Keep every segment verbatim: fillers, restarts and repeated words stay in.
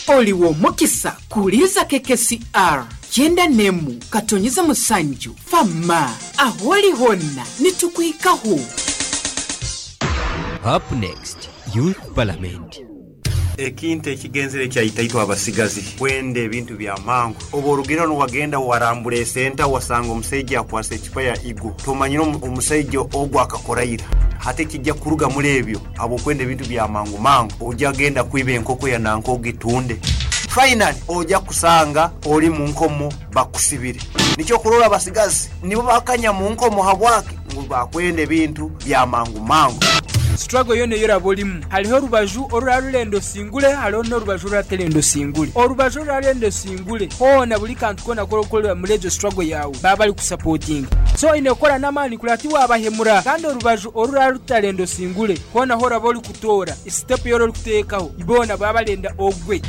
Oliwo mukisa kuuliza K K C R kyenda nemu katonyeza musanju fama aholi honna nitukwikaho. Up next, Youth Parliament. Ekintu ekigenzere kyaitaitwe abasigazi kwenda ebintu bya mangu. Oba orugero niwagenda warambura esenta, wasanga omusaija akwasa ecupa ya igo, tomanyire omusaija ogwo akakoraira hati kijja kuruga muri ebyo. Habwokwenda ebintu bya mangu mangu, ojja genda kwiba enkoko ya nanka ogitunde, finally ojja kusanga oli mu nkomo bakusibire. Nikyo kurora abasigazi nibo bakanya mu nkomo. Habwaki? Ngu bakwenda ebintu bya mangu mangu. Struggle yona eyoraba olimu, hariho orubaju orurarurenda osingure, hariho n'orubaju oruraterenda osingure. Orubaju orurarenda osingure hoona, buri kantu koona k'orikukorera muri egyo struggle yawe baba bari kusupportinga, so oine kukora n'amaani kureba tiwabahemura. Kandi orubaju orurarutarenda osingure hoona, horaba orikutoora step yora orikuteekaho, boona baba barenda ogwe.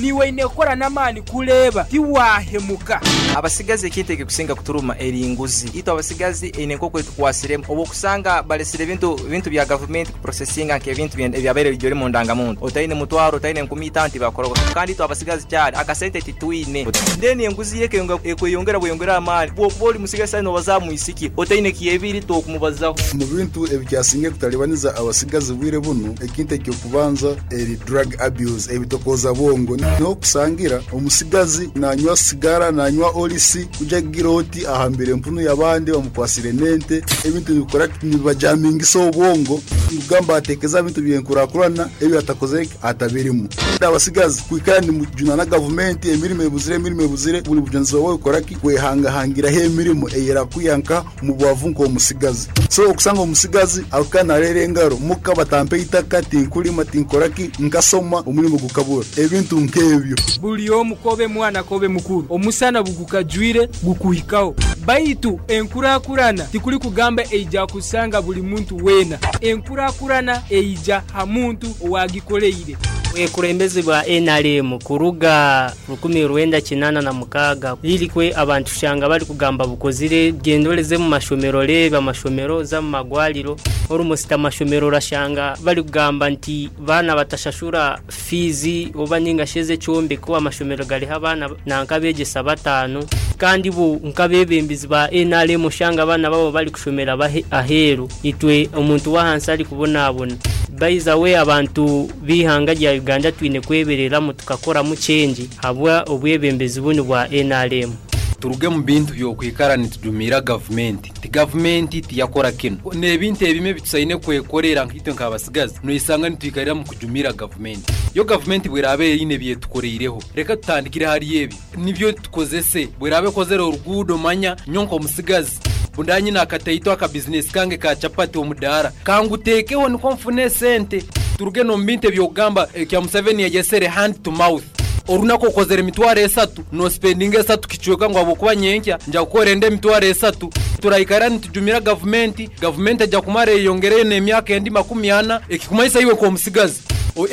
Niwe oine kukora n'amaani kureeba tiwahemuka. Abasigazi ekintu ekikusinga kuturuma eri nguzi. Itwe abasigazi eine nk'oku etukwasiremu, obu okusanga balesire ebintu ebintu bya gavumenti kuprocessinga, nk'ebintu ebyabaire bijori mu ndangamuntu, otaine mutwaro, otaine nkumi itaano tibakora. Kandi itwe abasigazi kyari akasente titwine, then enguzi yeke ekweyongera bweyongera amaani. Bwokuba oli musigazi sasa nobaza mwisiki otaine kyebiri tokumubazaho. Mu bintu ebikyasinga kutalibaniza abasigazi bwire buno, ekintu ekyokubanza eri drug abuse, ebitokoza bwongo. Niho kusangira omusigazi nanywa sigara, nanywa olisi, kuja kugira oti ahambire empunu y'abandi, bamukwasire nente. Ebintu nibikora nibajamingisa obwongo, kugamba atekeza ebintu byenkurakurana ebyo atakoze atabirimu. Abasigazi kwikara nimujuna na gavumenti, emirimo ebuzire, emirimo ebuzire. Buli bujunanizibwa bwawe koraki kwehangahangiraho emirimo eyerakuyanka mu bwavu nk'omusigazi. So okusanga omusigazi akukanarera engaro muka, batampe itaka, tinkulima, tinkoraki, nkasoma omurimo gukabura, ebintu nk'ebyo. Buli omu, kobe mwana kobe mukuru, omusana bugukajwire gukuhikaho. Baitu enkurakurana tikuli kugamba eija kusanga buli muntu weena, enkurakurana eija ha muntu owagikoleire. Obukulembeze bwa N R M kuruga rukumi rwenda kinana na mukaga lirikwe abantu shanga bali kugamba bukozire. Gendoleze mu mashomero, reba amashomero, za mu magwaliro, almost amashomero rashanga bali kugamba nti bana batashashura fees oba ninga sheze kyombeko. Amashomero galiho abaana nankabegesa batano, kandi bu nkabebembezi ba N R M shanga abana babo bali kushomera aheru, itwe omuntu wahansi ari kubonabona. Baiza we abantu bihanga rya Uganda twine kwebereramu tukakoramu change habwa obwebembezi bunu bwa N R M. Turuge mu bintu byokwikara nitujumira gavumenti ti gavumenti tiyakora kino n'ebintu ebimwe bitusaine kwekorera. Nkitwe nk'abasigazi noisanga nitwikarira mu kujumira gavumenti. Yo gavumenti bwerabe erine byetukoreireho, reka tutandikire hari ebi nibyo tukozese. Bwerabe kozere oruguudo, manya nyonko omusigazi bundanyi nakataito aka business kange ka chapati omudara kangutekeho niko mfune sente. Turuge no mbinte byogamba kya Museveni yagesere hand to mouth. Orunako okozere emitwaro esatu, no spending esatu kichweka ngo abokuba nyenkya nja gukora ende emitwaro esatu. Turaikara nitujumira gavumenti, gavumenti ejja kumara eyongereye n'emyaka endi makumi ana. Ekikumaisa iwe nk'omusigazi,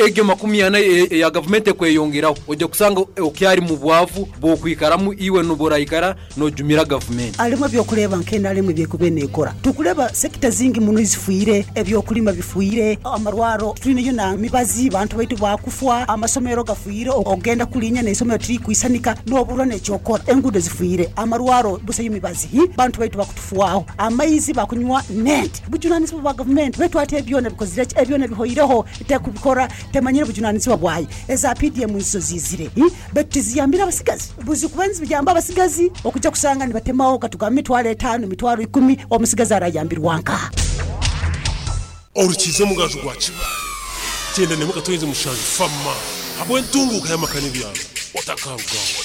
egyo makumi ana ya gavumenti ekweyongeraho, ojja kusanga okyari mu bwavu bwokwikaramu iwe noboraikara nojumira gavumenti. Alimu ebyokureba nk'enalimu byekuba nekora, tukureba sector zingi muno zifwire, ebyokulima bifwire, amarwaro twineyo na mibazi, bantu baitu bakufwa, amasomero gafwire, ogenda kulinya n'isomero tiri kwisanika n'oburwa n'ekyokora, engudo zifwire, amarwaro busayo mibazi, bantu baitu bakutufuaho, amaizi bakunywa nent bujunanizibwa bwa gavumenti. Baitu ate ebyona bikozire, ebyona bihoireho, tekubikora, temanyire bujunanizibwa bwayo. Eza P D M nizo zizire, baitu tiziyambire abasigazi. Buzi kuba niziyamba abasigazi, okujja kusanga nibatemaho katugamba emitwaro etaano, emitwaro ikumi, omusigazi arayambirwa nkaha? Orukize omugaju gwa Kibaale kyenda nemwe katonyeze mushanju fama habwe entunguka y'amakani byaro otakarugaho.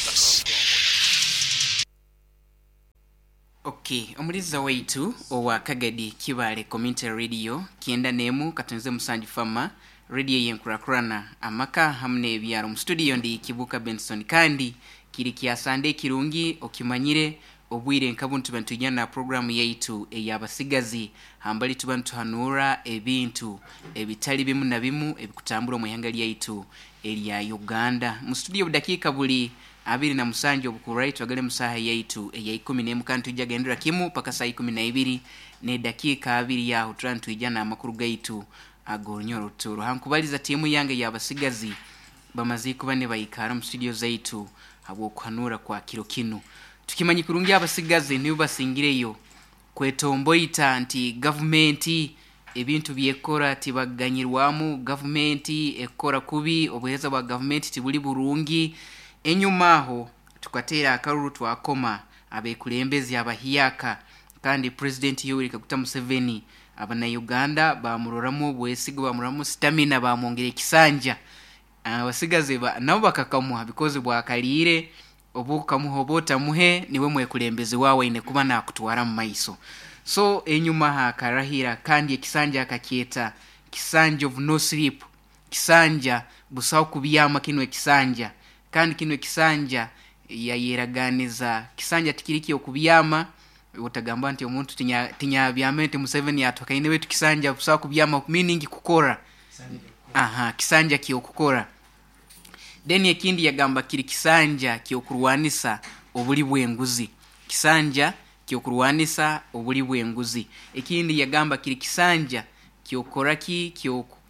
Okay, omuliza waitu owa Kagadi Kibale Community Radio kyenda nemu katonze musanju fama, radio yenkurakurana amaka hamwe n'ebyaro. Mu studio ndi Kibuka Benson, kandi kiri kyasande kirungi okimanyire obwire nkabuntu bantujana na programu yaitu ey'abasigazi, hambali tuba nituhanura ebintu ebitali bimu na bimu ebikutambura mu ihanga lyaitu erya Uganda. Mu studio budakiika buli abiri na musanju obukurai twagale musaha yaitu eya ikumi n'emu, kandi tujja gendera kimu paka saa ikumi na ibiri n'edakiika abiri yaho tuba nitwijana amakuru gaitu ag'orunyoro ruturo. Hankubaliza tiimu yange y'abasigazi. Bamaze kuba ne bayikara mu studio zaitu habwokuhanura kwa kiro kinu. Tukimanyi kurungi abasigazi nibo basingireyo kwetomboita nti gavumenti ebintu byekora tibaganyirwamu, gavumenti ekora kubi, obuheereza bwa gavumenti tibuli burungi. Enyuma aho tukateera akaruru twakoma abekulembezi abahiyaka, kandi President Yoweri Kaguta Museveni abana Uganda bamuroramu obwesigo, bamuroramu stamina, bamwongera ekisanja. Abasigazi ba, nabo bakakamuha because bwakaliire obukamuha oba otamuhe niwe mwekulembezi wawe aine kuba nakutwara mu maiso. So enyuma hakarahira kandi ekisanja akakyeta kisanja of no sleep, kisanja busaho kubyama kino ekisanja, kandi kino ekisanja yayeraganiza kisanja tikiri kyokubyama. Otagamba nti omuntu tinya- tinyabyame nti Museveni atwakaine wetu kisanja busaho kubyama, meaning kukora. Aha, kisanja kyokukora. Then ekindi yagamba kiri kisanja kyokurwanisa obuli bw'enguzi, kisanja kyokurwanisa obuli bw'enguzi. Ekindi yagamba kiri kisanja kyokoraki,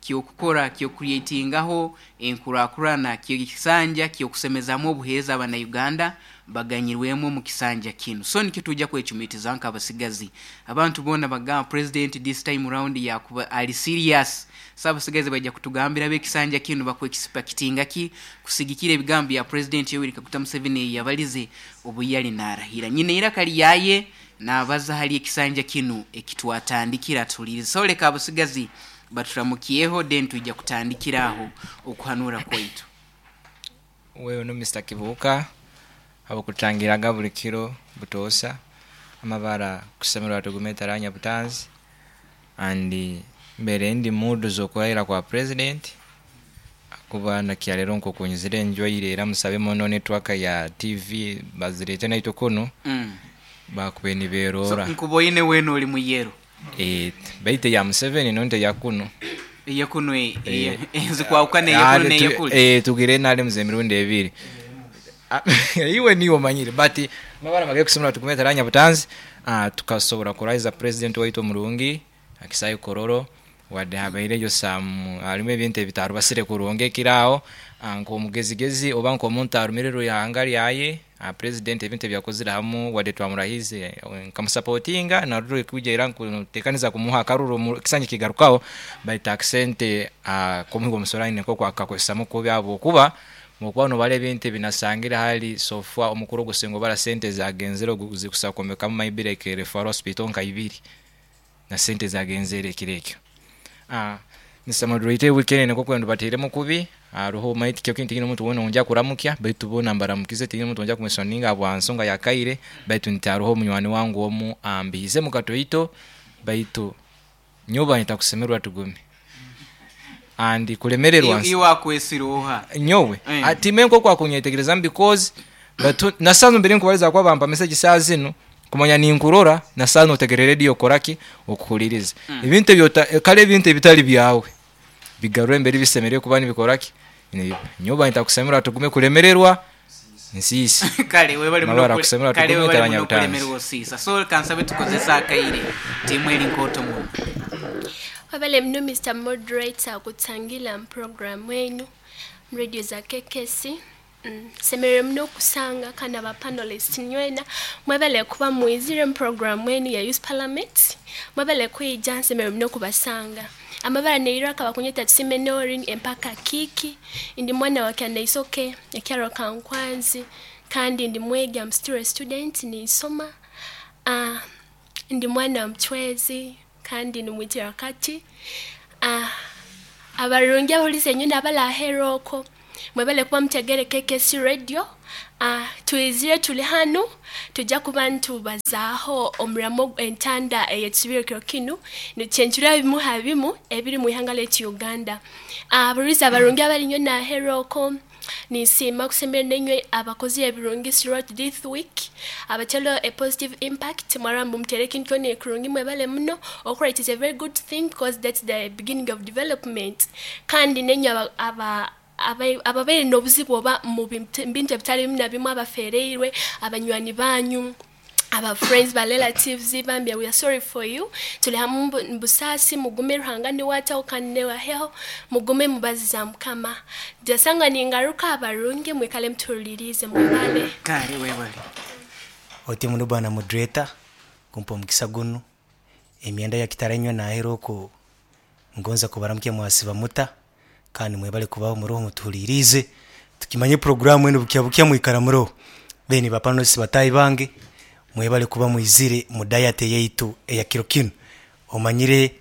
kyokukora, kyocreatingaho enkurakurana, kyo kisanja kyokusemezamu obuheereza abana Uganda baganyirwemu omu kisanja kinu. So nikyo tujja kwecumitiza nk'abasigazi. Abantu boona bagamba president this time round yakuba ali serious. So abasigazi bajja kutugambira b'ekisanja kinu bakwexpectinga ki kusigikira ebigambo bya President Yoweri Kaguta Museveni yabalize obu yali narahira. Nyine iraka lyaye nabaza hali ekisanja kinu ekitwatandikira tulirize. So leka abasigazi baturamukiyeho, then tujja kutandikira aho okuhanura kwaitu. Wewe no Mister Kibuuka abakutangiraga buli kiro butoosa amabara kusemerwa tugume taranya butanzi and mbere ndi mudu z'okurahira kwa president kuba nakyalero nkokunyizire enjoyire era musabe muno network ya T V bazirete naitwe kuno mm. bakube So, niberora. Nkuboine wena oli muyero. Eh, baite ya Museveni nonte ya kuno. Eyakuno. Eh, ezikwawukana eyakuno Ah, tu- neyakuli. eh, tugire nali muze emirundi ebiri. Ah, iwe niwe omanyire but mabara magere kusomera tugume taranya butanzi. Ah, tukasobora kurahiza president waitu omurungi akisayo kororo wadde habaireyo some harimu ebintu ebitarubasire kurungi ekiraaho. Ah, nk'omugezigezi oba nk'omuntu arumirirwe ihanga ryaye, ah, president ebintu ebyakozire hamu wadde twamurahize, eh, nkamusapotinga naruro kuja era nkutekaniza kumuha akaruru mu- kisanja kigarukaho, baita akisente komuhigo omusoro nko kwakakozesamu kubi habwokuba mukuba nobara ebintu ebinasangire hali sofa omukuru ogusinga obara sente zagenzere zikusa kwombekamu maybe like referral hospital nka ibiri na sente zagenzere ekiro ekyo. Ah, Mister Moderator, weekend niko kwenda bateremu kubi aruho maiti kyo kintu omuntu wona onja kuramukya baitu bona mbaramukize tini omuntu onja kumwesoninga bwa nsonga yakaire baitu nti aruho munywani wangu omu ambize mukatoito baitu nyoba nitakusemerwa tugume andi kulemererwa. Iwakwesiroha. Nyowe Eh. ati menko kwa kunyetegereza because batu nasanze mbere nkubaliza kwa bampa message saa zino kumanya ninkurora nasanze otegere radio koraki okuhuliriza Mm. ebintu ebyo kale ebintu ebitali byawe bigarure embere bisemerere kuba nibikoraki. Nyoba nitakusemera tugume kulemererwa nsiisi. Kale webale muno. Mabara kule- kusemera kale tugume webale taranya muno butanzi. kulemererwa osiisa. So kansabe tukozesa akaire timu eri nkoto muno. Wabale mno Mister Moderator kutangila program wenu radio za K K C. Mm. Semerere muno okusanga kana ba panelist nywena mwebale kuba mwizire mu program wenu ya Youth Parliament, mwebale kwija, nsemerere muno kubasanga. Amabara neiraka bakunyeta tusime Norin empaka kiki ndi mwana wa Kyanaisoke ekyaro kankwanzi kandi ndi mwegi, am still a student, nisoma. uh, ndi mwana wa mchwezi kandi ni mwitira kati. uh, abarungi abahuliza enyundi abalaheroko mwebale kuba mutegere K K C radio. uh, twizire tuli hanu tujja kuba ntubazaaho omuramo entanda eyetusubire kiro kinu nikyenjura bimu ha bimu ebiri mu ihanga letu Uganda. Abaruliza abarungi abali nyo naheroko nisiima kusembera nenywe abakozi ebirungi throughout this week abatelo a positive impact mwarambu mutere ekintu kyona ekurungi mwebale muno okora. It is a very good thing because that's the beginning of development. Kandi nenywe aba, aba aba- ababaire n'obuzibu oba mu bintu bintu ebitali bimu na bimu abafereirwe abanywani banyu Aba friends, ba relatives bambi, we are sorry for you. Tuli hamu mu busaasi, mugume, Ruhanga niwataho kandi newaheho, mugume mubaziza Mukama. Jasanga ningaruka abarungi mwikale mutulirize mwebale. Kale webale. Oti muno bwana moderator kumpa omukisa guno emyenda ya kitarenywa nahera oko ngonza kubaramukya mwasiba muta kandi mwebale kubaho muroho mutuhulirize tukimanye programu eno bukya bukya mwikara muroho. Then bapanosi batayi bange mwebale kuba mwizire mu diet yaitu eya kiro kino. Omanyire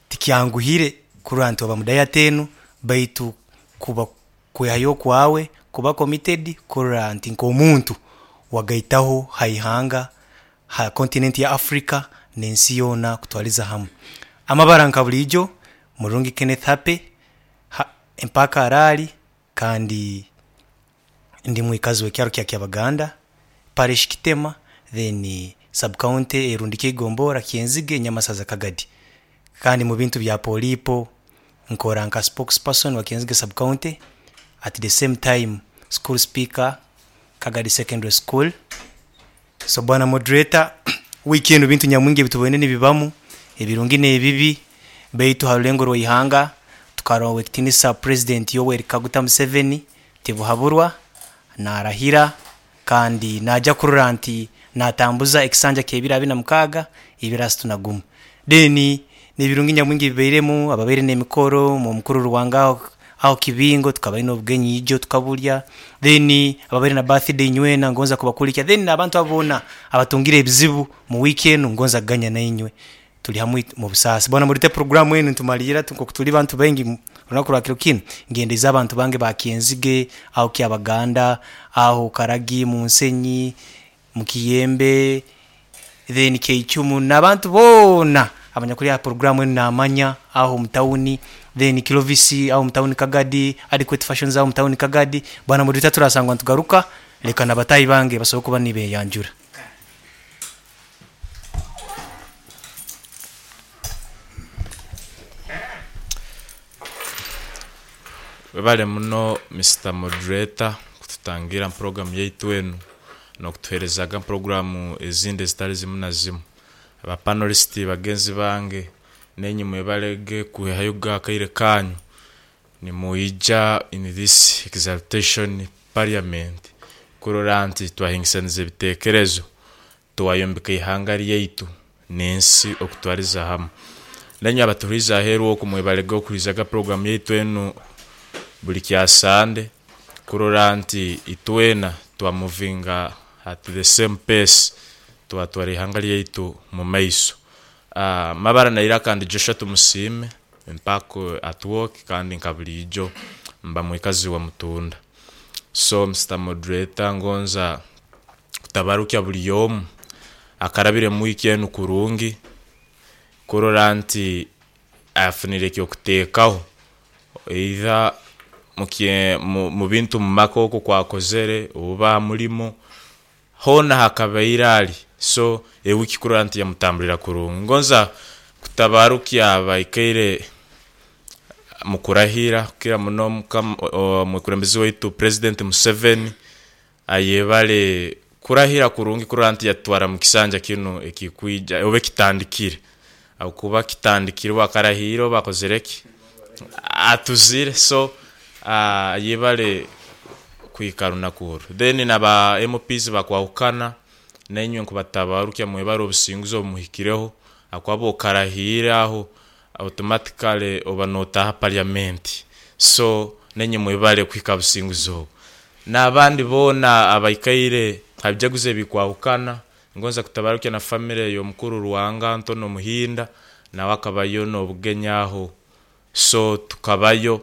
tikyanguhire kurantu aba mu diet eno baitu kuba kwehayo kwawe kuba committed kuranti nkomuntu wagaitaho haihanga ha continent ya Africa nensi yona kutwaliza hamwe. Amabara nka bulijo Murungi Kenneth Hape ha, empaka arali kandi ndi mwikazi w'ekyaro kya Kyabaganda parish Kitema then sub county Erundike Gombora Kyenzige Nyamasaza Kagadi. Kandi mu bintu bya polipo nkora nka spokesperson wa Kyenzige sub county, at the same time school speaker Kagadi Secondary School. So bwana moderator, weekend bintu nyamwingi bitubone nibibamu ebirungi n'ebibi beitu harulengo rw'ihanga tukarowe kitinisa President Yoweri Kaguta Museveni tibuhaburwa narahira kandi najya kurura nti natambuza ekisanja kebira bina mukaga ibirasi tunagumu. Then n'ebirungi nyamwingi bibeiremu ababeire n'emikoro mu mukuru Ruwanga aho kibingo tukabaina obugenyi ijo tukabulya. Then ababeire na birthday nywena ngonza kubakulika. Then abantu abona abatungire ebizibu mu weekend ngonza ganya na inywe tuli hamwe mu busasi. Bwana murite programu enu ntumalira tuko kutuli bantu bengi runaku rwa kiro kino ngendeza abantu bange bakyenzige aho Kyabaganda aho Karagi mu Nsenyi mu Kiyembe then Keichumu n'abantu bona abanyakuri ya programu enu namanya aho mutauni then Kilovisi aho mutauni Kagadi Adequate Fashions aho mutauni Kagadi. Bwana murite turasangwa tugaruka leka nabatayi bange basoboka kuba nibe yanjura. Webale muno Mister Moderator kututangira program yaitu enu nokutuherezaga programu ezindi ezitali zimu na zimu. Aba panelist bagenzi bange nenyi mwebalege kuhayo akaire kanyu nimuija in this exaltation parliament kurora nti twahingisaniza ebitekerezo twayombeka ihanga ryaitu n'ensi okutwariza hamwe. Nenyi abatuhuriza aheru oku mwebalege okuhurizaga program yaitu enu buli kya Sande kurora nti itwena twamuvinga at the same pace twatwara ihanga ryaitu mu maiso. Uh, mabara naira kandi Joshua Tumusime mpako at work kandi nkabulijo mba mwikazi wa Mutunda. So Mister Moderator ngonza kutabarukya buli yomu akarabire mu wiki enu kurungi kurora nti afunire kyo kuteekaho either mukie mu bintu mu makoko kwakozere oba mulimo hona hakabaira ali. So ewiki kurora nti yamutambulira kurungi. Ngonza kutabarukya abaikaire mukurahira kira muno mukurembezi waitu President Museveni ayebale kurahira kurungi kurora nti yatwara mu kisanja kino ekikwija obe kitandikire akuba kitandikire bakarahiro bakozereki atuzire. So uh, yebale kwikaruna kuru. Then naba M Ps bakwahukana nenywe nkubatabarukya mwebaro obusinguzo omuhikireho akwabo karahira aho automatically oba notaha parliament. So nenye mwebale kwika businguzo nabandi bona abaikaire habyaguze bikwahukana. Ngonza kutabarukya na family yo mukuru Ruwanga Antono Muhinda na wakabayo nobugenyaho. So tukabayo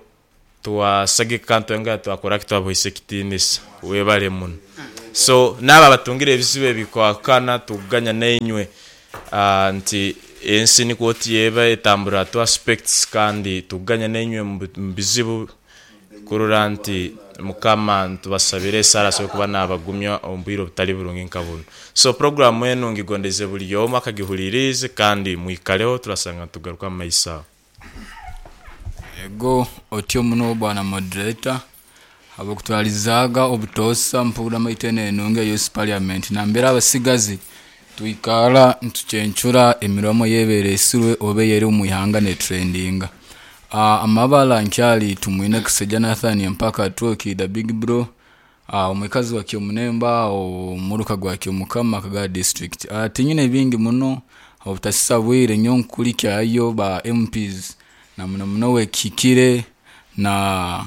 tuwasage kanto nga twakora kitwabohise kitinisa webale muno. So naba batungire ebizibu bikwakana tuganya nenywe uh, nti ensi niko tiyeba etambura tu aspects kandi tuganya nenywe mu bizibu kurora nti mukama tubasabire sara so kuba nabagumya ombwiro butali burungi nkabuno. So program enu ngigondeze buli yomu akagihulirize kandi mwikaleho turasanga tugaruka mu maisa. Ego otyo muno bwana moderator abokutwalizaga obutosa mpura maitene enonge Youth Parliament nambera abasigazi Tuikara ntuchencura emiromo yeberesirwe obe yeri omu ihanga ne trendinga. Uh, amabala nkyali tumwine Kiseja Nathan mpaka Twoki the big bro, uh, omwikazi wa Kyomunemba omuruka gwa Kyomukama Kaga district. Uh, tinyine bingi muno obutasisa bwire nyo nkulikyayo ba M Ps na muno muno wekikire na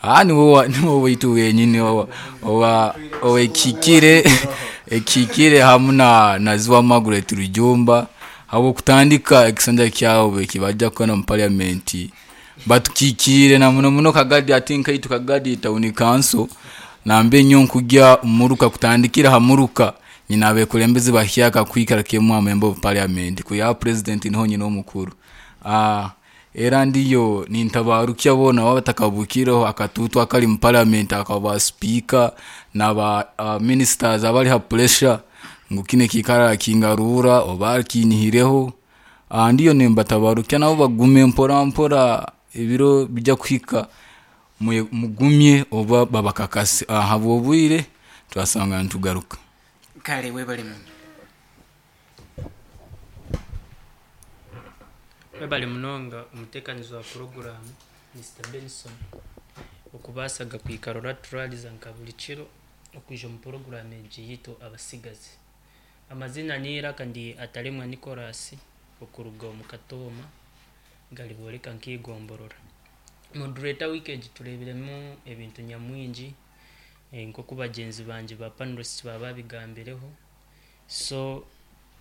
ah ni wowa ni wowe itu wenyini owa owa owekikire ekikire hamuna na Ziwa Margaret Rujumba abo kutandika ekisanja kyawo ekibajja kona mu parliament batukikire na muno muno Kagadi atinka itu Kagadi town council nambe nyo nkujya muruka kutandikira hamuruka nyina abekulembezi bahyaka kwikara kemwa member of parliament ku ya president niho nyina omukuru. Ah era ndiyo nintabarukya bona batakabukiraho akatutu akali mu parliament akaba speaker na ba uh, ministers abali ha pressure ngukine kikara kingarura oba kinyihireho. Ah ndiyo nimbatabarukya nabo bagume mpora mpora ebiro bijja kuhika mugumye oba babakakasi aha bwire twasanga ntugaruka kale webale muno. Webale munonga umutekanizo wa program Mister Benson okubasaga kwikarora turaliza nka buli kiro okuja mu program egiyito abasigazi. Amazina nira kandi atalemwa Nicholas okuruga mu Katoma galiboleka nkigomborora. Moderator weekend turebiremu ebintu nyamwingi nko bagenzi banje ba panelists baba bigambireho, so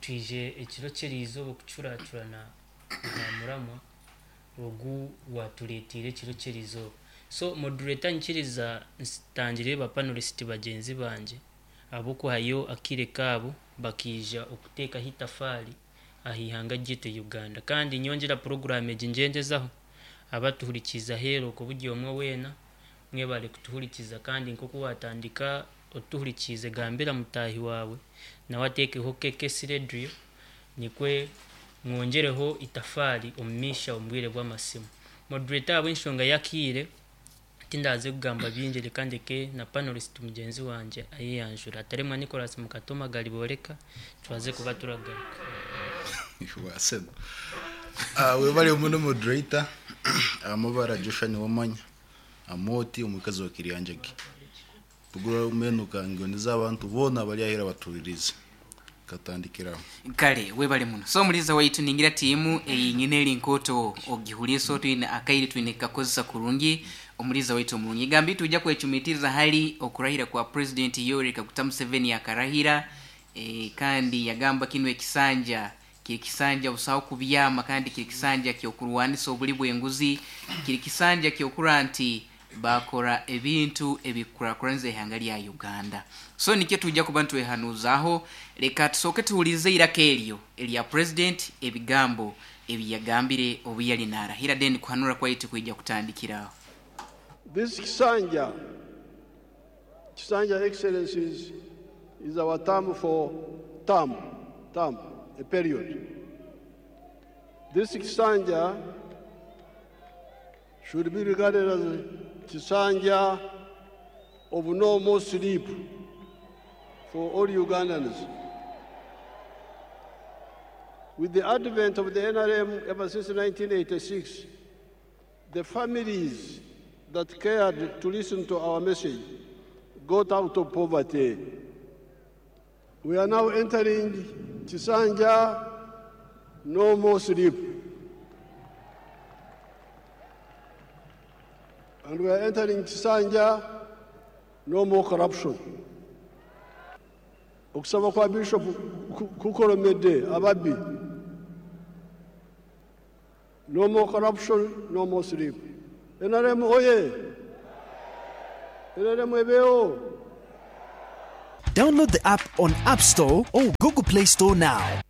twije ekiro kyerizo okucuracurana na muramwa ogu watuletire ekiro kyerizo. So moderator nkiriza ntangire ba panelist bagenzi banje abokuhayo akire kabo bakija okuteka hitafali ahihanga gite Uganda, kandi nyongera program eginjenjezaho abatuhurikiza hero ko buryo omwe wena mwebale kutuhurikiza, kandi nko watandika otuhurikize gambira mutahi wawe nawe atekeho K K C radio nikwe mwongereho itafari omumisha ombwire bw'amasimu. Moderator ab'enshonga yakire tindaze kugamba bingi kandi ke na panelist mugenzi wanje ayiyanjura ataremwa Nicholas Mukatoma galiboleka twaze kuba turagaruka. Wasema ah webale muno moderator amabara Joshua ni wamanya amoti omukazi wa Kiryanjagi bugura umenuka ngoniza abantu bona bali ahera baturirize katandikira kale webale muno. So muliza waitu ningira timu eyinyine linkoto ogihuliso twine akairi twine kakozesa kurungi omuliza waitu mulungi gambi tujja kwechumitiriza hali okurahira kwa President Yoweri Kaguta Museveni akarahira e, kandi yagamba kino ekisanja kiri kisanja busaho kubyama kandi kiri kisanja kyokurwanisa obuli bwenguzi kiri kisanja kyokura nti bakora ebintu ebikurakuranze ihanga lya Uganda. So nikyo tujja kuba ntwehanuzaho leka tusoke tuhulize iraka eryo erya president ebigambo ebiyagambire obuyali narahira then kuhanura kwaitu kwijja kutandikiraho. This kisanja kisanja excellencies is our term for term term a period. This kisanja should be regarded as kisanja of no more sleep for all Ugandans. With the advent of the N R M ever since nineteen eighty-six, the families that cared to listen to our message got out of poverty. We are now entering Kisanja, no more sleep. And we are entering Kisanja, no more corruption. Okusaba kwa Bishop kukolomedde ababbi. No more corruption, no more sleep. N R M oye! N R M ebeo! Download the app on App Store or Google Play Store now.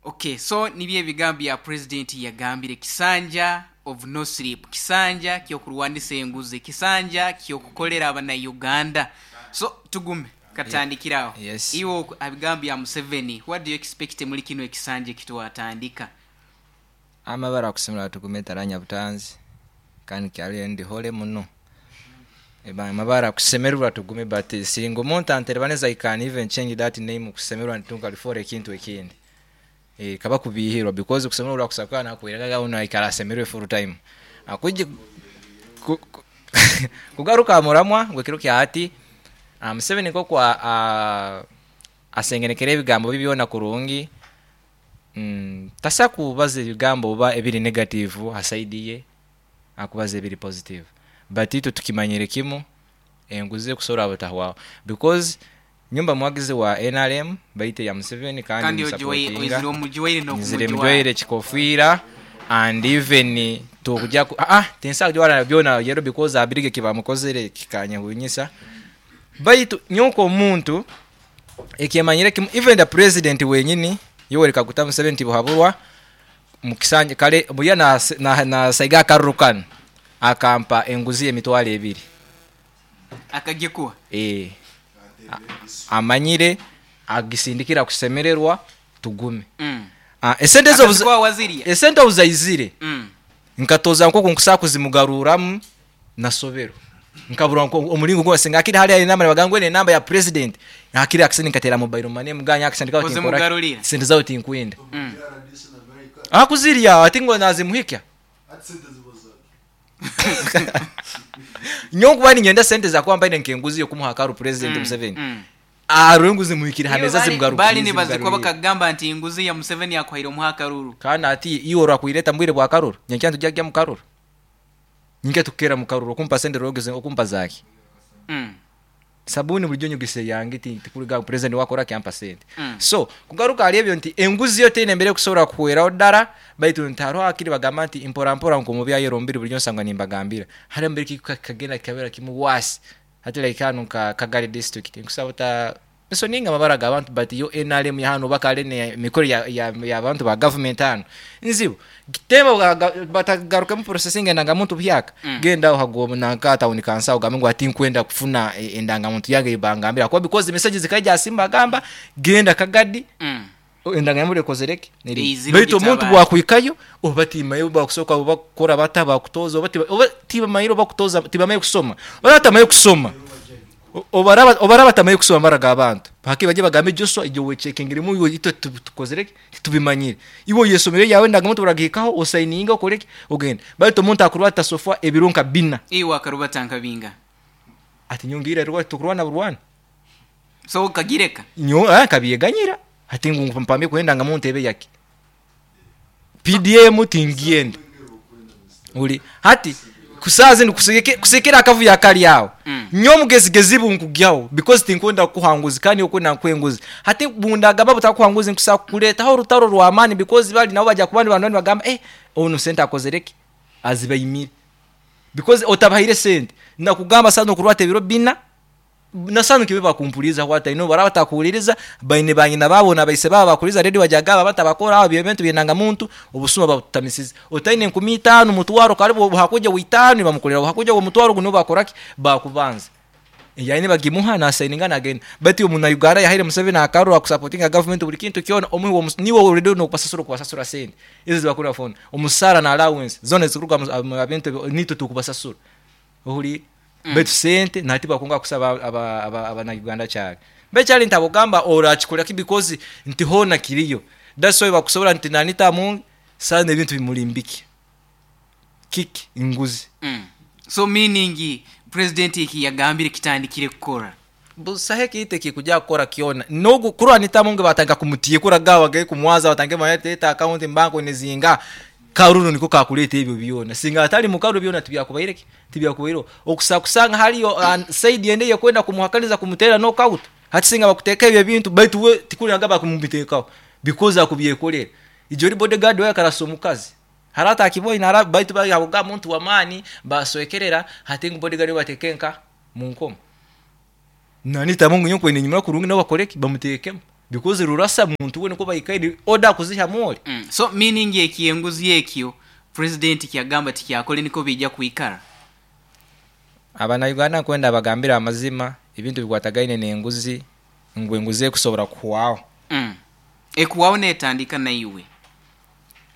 Okay, so nibye ebigambo ya president yagambire kisanja of no sleep, kisanja kyokurwanisa enguzi, kisanja kyokukolera abana Uganda. So tugume katandikiraho. Yes. Iwo abigambo ya Museveni, what do you expect muri kino ekisanja kitwatandika? Amabara kusimula tugume taranya butanzi kandi kyali ndi hole muno. Eba mabara kusemererwa tugume, but singa omuntu anterebaneza, I can even change that name kusemererwa nitunga lifora ekintu ekindi. Eh, kaba kubihirwa because kusemererwa kusakana nakuweraga uno ikara asemererwe full time. Akuje ku, ku, kugaruka muramwa gwekiro kya hati, um, Museveni nk'oku a- asengenekera ebigambo bibyona kurungi, mm, tasa kubaza ebigambo oba ebiri negative ha side ye, akubaza ebiri positive. But itwe tukimanyire kimu, enguzi ekusobola butahwaho, because nyumba mwagizi wa N R M baite ya Museveni kandi Kandi ogiwaire- musupportinga. oizire omugiwaire Nzire n'okumugiwara. mujwaire kikofiira and even tukujja ku ah, ah tinsa kujwara byona yero because abirige kibamukozere kikanyehunyisa. Baitu nyonko omuntu ekemanyire kimu, even the president wenyini Yoweri Kaguta Museveni tibuhaburwa mukisanje kale buya na na, na saiga akarurukana akampa enguzi emitwalo ebiri. Akagikuwa? Eh, amanyire agisindikira kusemererwa tugume. Mm. Ah, esente zo Akazikuwa wazirya? Esente obuzaizire, Mm. nkatoza nk'oku nkusaa kuzimugaruramu, nasobero nkabura nko omulingo gwose ngakiri hali enamba bagangwe ne namba ya president akiri akisindi nkatera mobile money muganya akisindi kawo tinkora Ozimugarurira? Sente zawo tinkwenda. Mm. Akuzirya ati ngo nazimuhikya nyonkuba ninyenda sente zakuba mbaine nkenguzi yokumuha akaru president Mm, Museveni. mm. Aro enguzi muhikire hameza. Bali- Zimugarukire. Bali nibazikuba Zimugarurire. bakagamba nti enguzi ya Museveni yakuhaire omuha akaruru. Kandi ati iwe orakwireta mbwire bwa karuru, nyenkya ntujya mu karuru, nyinke tukera mu karuru okumpa sente rogeze okumpa zaki? Mm. Sabuni bulijjo nyugise yange ti tikuriga president wakora kyampa sente. Mm. So kugaruka ali ebyo nti enguzi yo teine mbere kusobola kuhweraho ddala, baitu ntaro akiri bagamba nti mpora mpora nko bya yero mbiri bulijjo nsanga nimbagambira hari mbere kikagenda kikabera kimu wasi hati like hano ka Kagari district nkusaba ta so ninga mabara g'abantu, but yo N R M ya hano bakale ne mikoro ya ya, ya abantu ba government hano nzibu kitemba batagaruka mu processing endangamuntu byaka. Mm. Genda uhagoma nanka town council ugambe ngo ati nkwenda kufuna e, endangamuntu yange ibangambira kwa because messages zikaja simba gamba genda Kagadi. Mm. Endangamuntu ekozereke Eizire baitu omuntu ogitabara. bwakwikayo oba timayo bakusoka oba bakora bata bakutoza oba tiba- oba tibamayiro bakutoza tibamaye kusoma oba batamaye kusoma. O- obaraba obaraba batamaye kusoma mara g'abantu haki bajye bagambe Joshua ibyo wechekingirimu iwe ito tu- tukozereke tubimanyire iwe yesomero yawe ndangamuntu buragihikaho osayininga okoreke ogenda, baitu omuntu akurwata sofa ebirunka bina. Iwe akarubata nkabinga. Ati nyongira rwa tukurwana burwana. So ukagireka? Nyo ah kabyeganyira ati ngu mpambe kwenda nga muntu ebe yake P D M tingienda uli hati kusazi ndi kusekera akavu yakali yawo. Mm. Nyo mugezigezi bunkugyawo because tinkwenda kuhanguzi kandi okwenda nkwenguzi hati bundagamba butakuhanguzi nkusa kuletaho orutaro rw'amaani because bali nabo bajya kubandi bantu bagamba eh ono sente akozereki azibayimire because otabahire sente nakugamba sana okurwata ebiro bina nasanu kibe bakumpuliza hwata ino baraba takuwuliriza baine banyina babo na baise babo bakuliza ready wajagaba batabakora abo ebintu byenanga muntu obusuma babutamisiza otaine enkumi itaano mutwaro karibu hakuja witano bamukolera hakuja omutwaro guno bakoraki bakubanza yaine bagimuha na sayininga nagenda. But omuna Uganda yahaire Museveni akarura kusupportinga government buli kintu kyona omuhi wo niwe already no kupasasura kubasasura sente izo zibakura phone omusara na allowance zone zikuruka mu bintu nito tukubasasura ohuli. Mm. Betu sente nati bakunga kusaba aba aba abana Uganda cyane becyari ntabugamba orakikora ki because nti hona kiriyo. That's why bakusobora nti nanita mu sana ebintu bimulimbiki kiki inguzi. Mm. So meaning president iki yagambire kitandikire kukora? Busahe kiite kikuja kukora kiona nogu kurwa nitamunge batanga kumutiye kura gawa gaye kumwaza batange mayete account mbanko nezinga karuru niko kakuleta ebyo byona singa atali mukaru byona tibyakubaireki tibyakubairo okusakusanga haliyo uh, said yende yekwenda kumuhakaniza kumutera knockout hati singa bakuteka ebyo bintu baitu we tikuli agaba kumubitekaho because akubyekolera ijo ri bodyguard we akarasa omukazi harata akiboi nara baitu bali habuga muntu wa mani baswekerera hati ngu bodyguard we batekenka mu nkomo nani tamungu nyoko ine nyuma kurungi nabo bakoreki bamutekemo because rurasa muntu we niko bayikaidi order kuziha moli. Mm. So meaning eki enguzi ekyo president kyagamba tikyakole niko bijja kuikara? Abana Uganda kwenda bagambira amazima ebintu bikwatagaine n'enguzi ngu enguzi ekusobora kuhwaho. Mm. Ekuwaho netandika naiwe.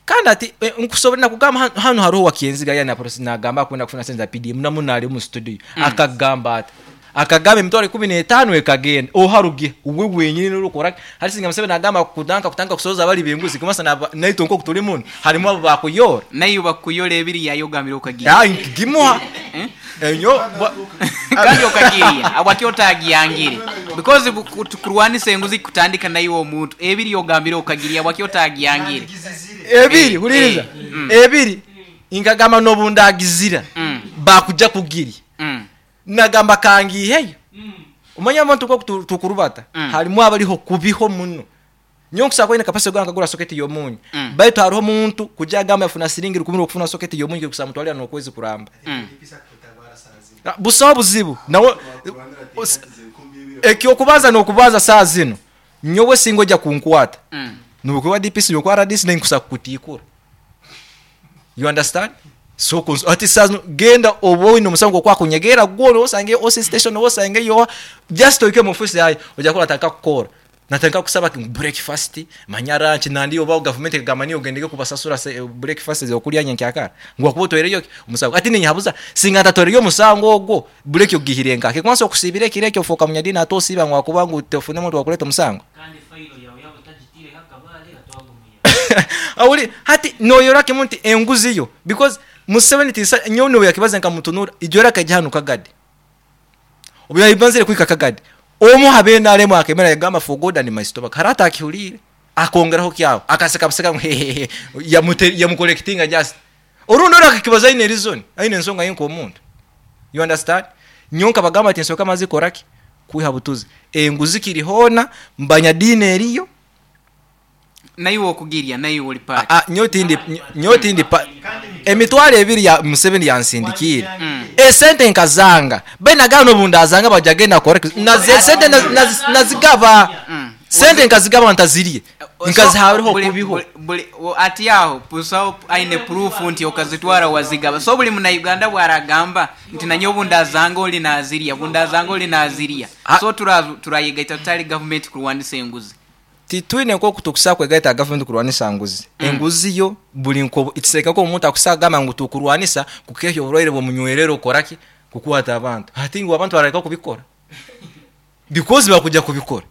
Kandi ati eh, nkusobora nakugamba hano hariho wakienziga yana process nagamba kwenda kufuna sente za P D M namu nali mu studio mm. Akagamba ati akagamba emitwaro ikumi n'etaano ekagenda oharuge uwe wenyine n'urukora hari singa Museveni nagamba kudanka kutanga kusoza abali benguzi kumasa naito nko kutuli muno harimo abo bakuyora nayo bakuyora ebiri yayogamira okagira ah ngimuha enyo kandi okagiria abakyotagiangire because kurwanisa enguzi kutandika nayo omuntu ebiri yogambira okagiria abakyotagiangire ebiri huliriza ebiri ingagamba nobundagizira bakuja kugiri nagamba kangiheyo umanya abantu ko tukurubata halimu abaliho kubiho muno nyonkusa kwine kapasi gwa nkagura socket yomunyu baitu hariho muntu kuja gamba yafuna siringi rukumi okufuna socket yomunyu kusa mutwalira nokwezi kuramba busawo buzibu nawe ekyo kubaza nokubaza saa zino nyowe singoja kunkwata nukuwa D P C yokwara D C nenkusa kutikura you understand so ati saa genda obo ino musango kwa kunyegera gwo osange O C station osange yo just oike mu office yayo oja kola taka kukora nataka kusaba breakfast manyara nchi nandi oba government kagamba niyo gendege kubasasura breakfast zo kulya nyankyakara ngwa kubotoereyo umusango ati ninyabuza singa tatoreyo musango ogwo break yogihirenga ke kwanza okusibire kireke ofoka munyadina atosiba ngwa kubangu tefune muntu wakuleta musango kandi failo yawe yabo tajitire hakabale atwagumuya awuli hati noyora kimuntu enguzi yo because Museveni tisa nyono yakibaza nkamutunura ijora kajya kagadi obuya ibanzire kwika kagadi omu habe nalemo akemera yagamba for God and my stomach harata akihulire akongeraho kyawo akaseka baseka hehehe ya mucollectinga just orundo rakakibaza ine reason aine nsonga yenko omuntu you understand nyonka bagamba ati nsoka mazi koraki kuiha butuzi enguzi kirihona mbanya dine eriyo nayo okugiria nayo oli part ah nyotindi nyotindi emitwalo ebiri ya Museveni yansindikire esente nkazanga benagano bundazanga bajagenda correct na sente nazigaba sente nkazigaba ntaziriye nkazihaweho kubiho ati yaho pusawo aine proof nti okazitwara wazigaba so buli muna Uganda bwaragamba nti nanyo bundazanga oli naziria bundazanga oli naziria so turayigaita tutali government kurwanisa enguzi titwine nko kutukusa kwegaita government kurwanisa nguzi mm. Enguzi yo buli nko itiseka ko omuntu akusagamba ngu tukurwanisa kukehyo oburwaire bwomunywerero koraki kukwata abantu ati ngu abantu barareka kubikora because bakuja kubikora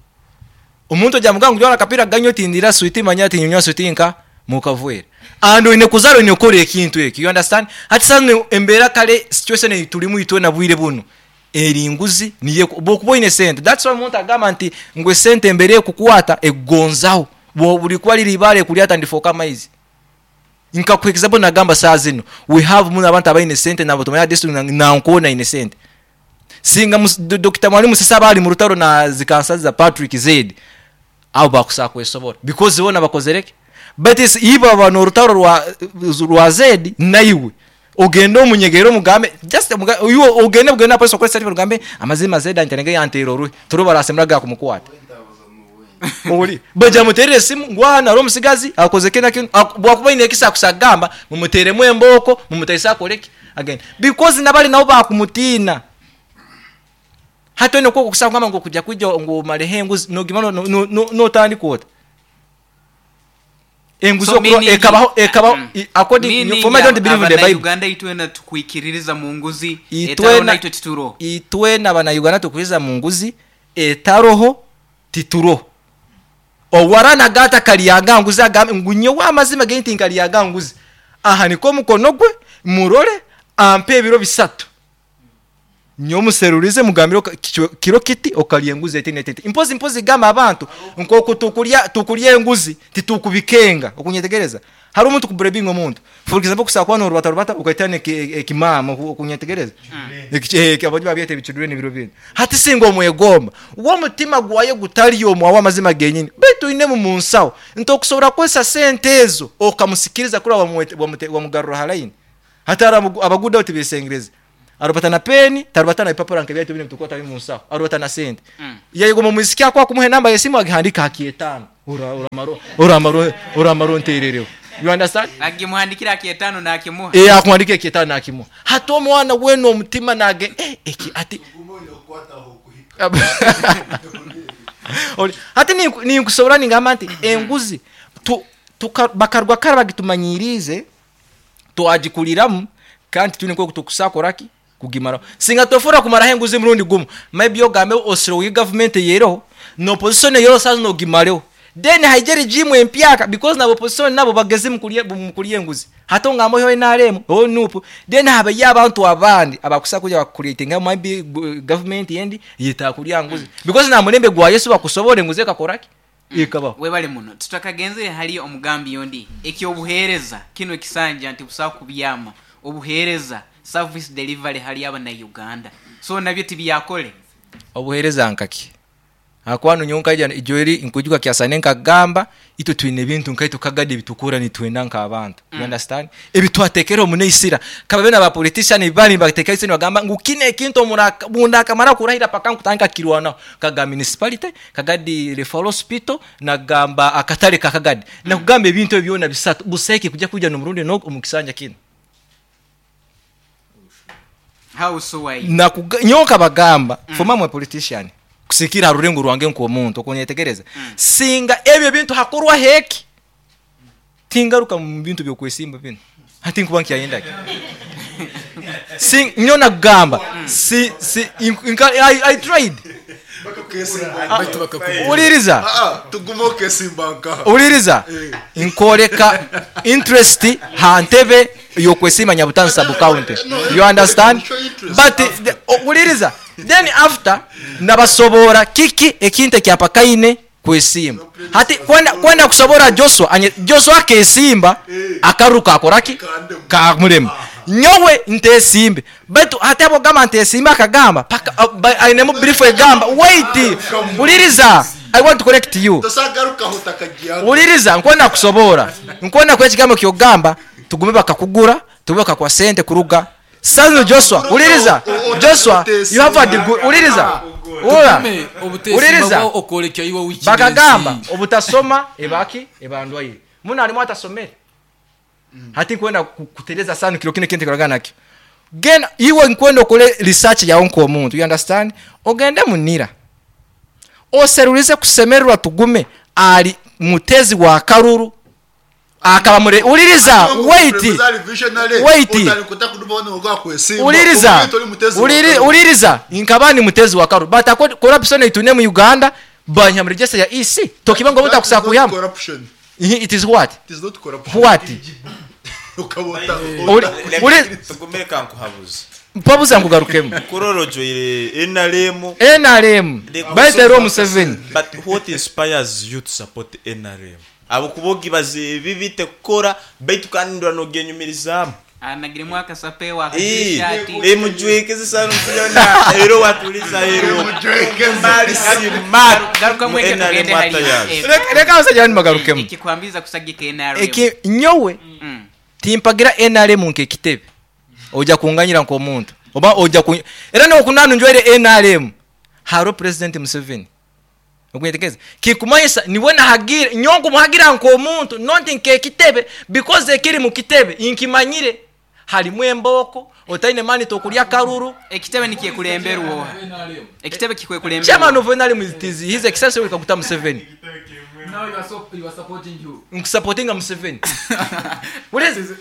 omuntu ajya muganga ujya akapira ganyo tindira sweet manya tinywa sweet nka mukavwera ando ine kuzaro ine kore ekintu eki you understand hati sana embera kale situation tulimu itwe na bwire buno eri nguzi niye bokubo ine sente that's why umuntu agamba nti ngwe sente embere kukwata egonzaho bo buli kwali libale kulyata ndifoka maizi nka ku example nagamba saa zino we have muna abantu abaine sente nabo tumanya district na nkona ine sente singa Doctor Mwalimu sasa bali mu rutaro na zikansa za Patrick Zed abo bakusa kwesobora because bona bakozereke but is iba abantu rutaro rwa rwa Zed naiwe ogenda omunyegero mugambe just uyo ogenda bugenda police kwesa mugambe amazima Zed antenege yantero ruhi turuba rasemraga kumukwata oli baja muterere simu ngwana ro musigazi akoze kena kino bwakuba ine kisa kusagamba mumuteremu emboko mumutesa koleki again because nabali nabo bakumutina hato ino koko kusanga ngo kujya kujya ngo malehengu no gimano no no tandi kota enguzo so, ekabaho ekabaho according for me don't believe in the Bible Uganda itwena tukwikiririza mu nguzi etaro itwe tituro itwena bana Uganda tukwiriza mu nguzi etaroho tituro owarana gata kaliyaga nguzi agambe ngunye wa amazima genti nkaliyaga nguzi aha niko mukono gwe murore ampe ebiro bisatu nyomuserurize mugambiro kiro kiti okaliye nguzi eti netete impozi impozi gama abantu nkoko tukulya tukulya enguzi titukubikenga okunyetegereza hari umuntu kuburebinga omuntu for example kusakwa no rubata rubata ukaitane ekimama okunyetegereza ekike abanye babyete bichudure n'ibiro bindi hati singo mwegomba uwo mutima gwaye gutali yo mwa amazima genyine betu ine mu munsawo ntokusobora kwesa sente ezo okamusikiriza kuri wamugarura halaini hatara abaguda utibisengereza arubata na peni tarubata na ipapuro nkebya tubine mtukota bimu nsaho arubata na sente mm. yego mu muziki akwa kumuhe namba yesimu agihandika akietano ura ura maro ura maro ura maro nterereho you understand agimuhandikira akietano na akimuha eh akumwandika akietano na akimuha hato mwana weno omutima nage eh eki ati oli hati ni ni nkusobora ningamba nti enguzi tu Tuka- bakarwa kara bagitumanyirize, twagikuriramu, kandi tuni nko tukusakoraki kugimara. Singa tofura kumaraho enguzi murundi gumu, maybe ogambe osiro government yeroho no opposition yero sazo no gimareho, then haije regime empyaka, because na opposition nabo bageze mukulie mukulie enguzi, hato ngamo yo N R M o N U P, then habe y'abantu abandi abakusa kuja bakucreatinga maybe gu- government yendi yitakulya nguzi, because na mulembe gwa Yesu bakusobora enguzi ekakoraki ikabaho. Webale muno. Tutakagenzere hali omugambi yondi ekyobuheereza kino ekisanja nti busawa kubyama obuheereza, service delivery hali abana Uganda, so nabyo tibyakole. Obuheereza nkaki akwanu nyonka ija ijoeri nkujuka kyasane nkagamba itwe twine ebintu nkaitwe kagadi ebitukura nitwenda nk'abantu mm. You understand? Ebitwatekera omuneisira kaba bena ba politician bali batekera isini bagamba ngu kine ekintu omuraka munda akamara kurahira paka nkutanga kirwana kaga municipality, Kagadi referral hospital, nagamba akatale ka Kagadi, nakugamba ebintu ebyo byona bisatu buseke kujja kuja n'omurundi no omukisanja kino. How so? Why? Nakuga- nyoka bagamba mm. Foma mwe politician kusikira harurengo rwange nk'omuntu okunyetegereza mm. Singa ebyo bintu hakorwa heki, tingaruka mu bintu byokwesimba bino, hati nkuba nkyayendaki si nyo nagamba si si inka, I, I tried. Uliriza. Tuguma okesimba nkaha. Uliriza, nkoreka interest hantebe yokwesima Nyabutansi sub county, you understand? But the- o- uliriza, then after nabasobora kiki ekintu ekyapakaine kwesimba, hati kwenda kwenda kusobora Joshua anye Joshua akesimba akaruka akoraki kamulema nyowe ntesimbe, baitu hati abo gamba ntesimba akagamba paka uh, ba- ainemu brief egamba, wait, uliriza, I want to correct you. Tosagarukaho takagiyaga. Uliriza, nkwenda kusobora, nkwenda kwa ekigambo kyogamba tugume bakakugura, tugume bakakwa sente kuruga sano. Joshua, uliriza, Joshua, you have a degree. Uliriza, ura Tugume obutesimba uliriza bwo okwoleka iwe wiki. Bakagamba obutasoma ebaki ebandwaire muno harimu atasomere, hati nkwenda ku- kutereza sano kiro kino kintu kiraga nakyo genda iwe nkwenda okole research yawe nk'omuntu, you understand? Ogende munira oserulize kusemererwa tugume ali mutezi wa karuru akaba mure. Uliriza, wait, wait, uliriza, Uliri- uliriza, nkaba ni mutezi wa karuru, but ako corruption itune mu Uganda banyamurigese ya E C tokiba ngo mutakusa kuyama. It is what? It is not corruption. What? Uri- uri- Tugumire kankuhabuze. Mpabuza nkugarukemu. Kurorojoire N R M. N R M baitero Museveni. But what inspires you to support N R M, abo kuba ogibaza ebi bite kukora baitu kandi ndwa nogenyumirizamu? Anagiremu akasapewa. Eh, emujwekeze sana mutuyona ero watuliza ero mali smart. Garuka mweke. N R M Tugende hali atayazi. eh, Reka- reka abasajja bandi bagarukemu. Ekikwambiza kusagika N R M? Eki nyowe timpagira N R M nk'ekitebe, ojja kunganyira nk'omuntu oba ojja ku era nokunanu njwaire N R M haro President Museveni okunyetegereza kikumanyisa niwe nahagira nyongo muhagira nk'omuntu, not nk'ekitebe, because ekiri mu kitebe nkimanyire halimu embooko otaine mani tokulya karuru. Ekitebe nikyekulemberwa, ekitebe kikwekulemberwa. Chairman of N R M is is his excellency Kaguta Museveni. Now you are so, you are supporting you. Nkusupportinga Museveni. Uliriza,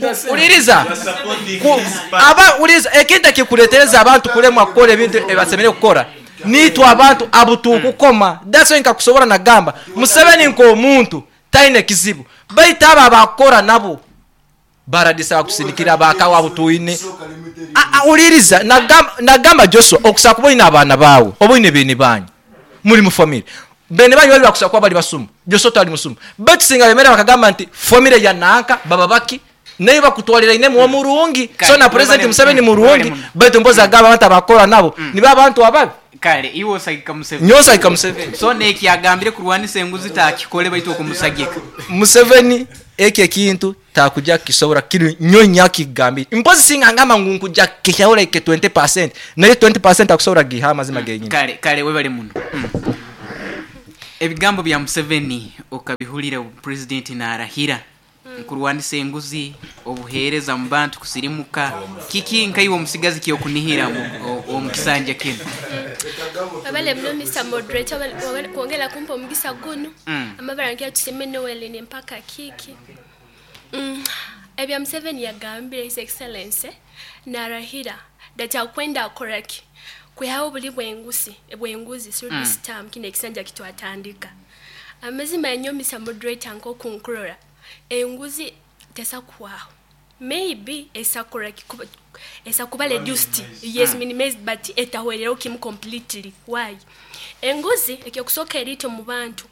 the same. uliriza. You are supporting Ku- his party. Aba uliriza, ekintu ekikuletereza abantu kulemwa kukola ebintu ebasemere kukora nitwe abantu abutukukoma. That's why nkakusobora nagamba Museveni nk'omuntu taine kizibu, baitu abo abakora nabo baradisa bakusindikira bakawa butuine. Ah, ah, uliriza, nagamba, nagamba Joshua, okusaba kuba olina abaana baawe oba olina bene banyu muli mu family, bene banyu bali bakusaba kuba bali basumu, Joshua tali musumu, baitu singa bemera bakagamba nti family ya nanka baba baki naye bakutwalira ine muwo murungi. So na President Museveni murungi, baitu mbozi agamba abantu abakora nabo nibo abantu ababi. Kale iwe osagika Museveni? Nyowe osagika Museveni. So nekyagambire kurwanisa enguzi takikole, baitu okumusagika? Museveni ekyo ekintu takujja kisobora kiri nyo nyakigambire mpozi singa ngamba ngu nkujja kihyaho like twenty percent, naye twenty percent akusobora giha amazima genyini. Kale, kale, webale muno. Mm. Ebigambo bya Museveni okabihulira, pulezidenti narahira nkurwanisa enguzi, obuheereza mu bantu kusirimuka, kiki nkaiwe omusigazi kyokunihira mu- o- omu kisanja kino? Wabale muno Mister Moderator, wabale kuongela kumpa omugisa guno. Mm. Amabara nkia tuseme Noel ni mpaka kiki. Mm. Ebya Museveni yagambire His Excellency narahira that akwenda akoraki kwihaho buli bwengusi bwenguzi through Mm. this term kine ekisanja kitwatandika. Amazima yanyo Mister Moderator nko kunkurora enguzi tesakuwaho, maybe esakora esakuba reduced, yes, Mm. minimized, but etahwerera kimu completely. Why? Enguzi ekyokusooka erito mu bantu.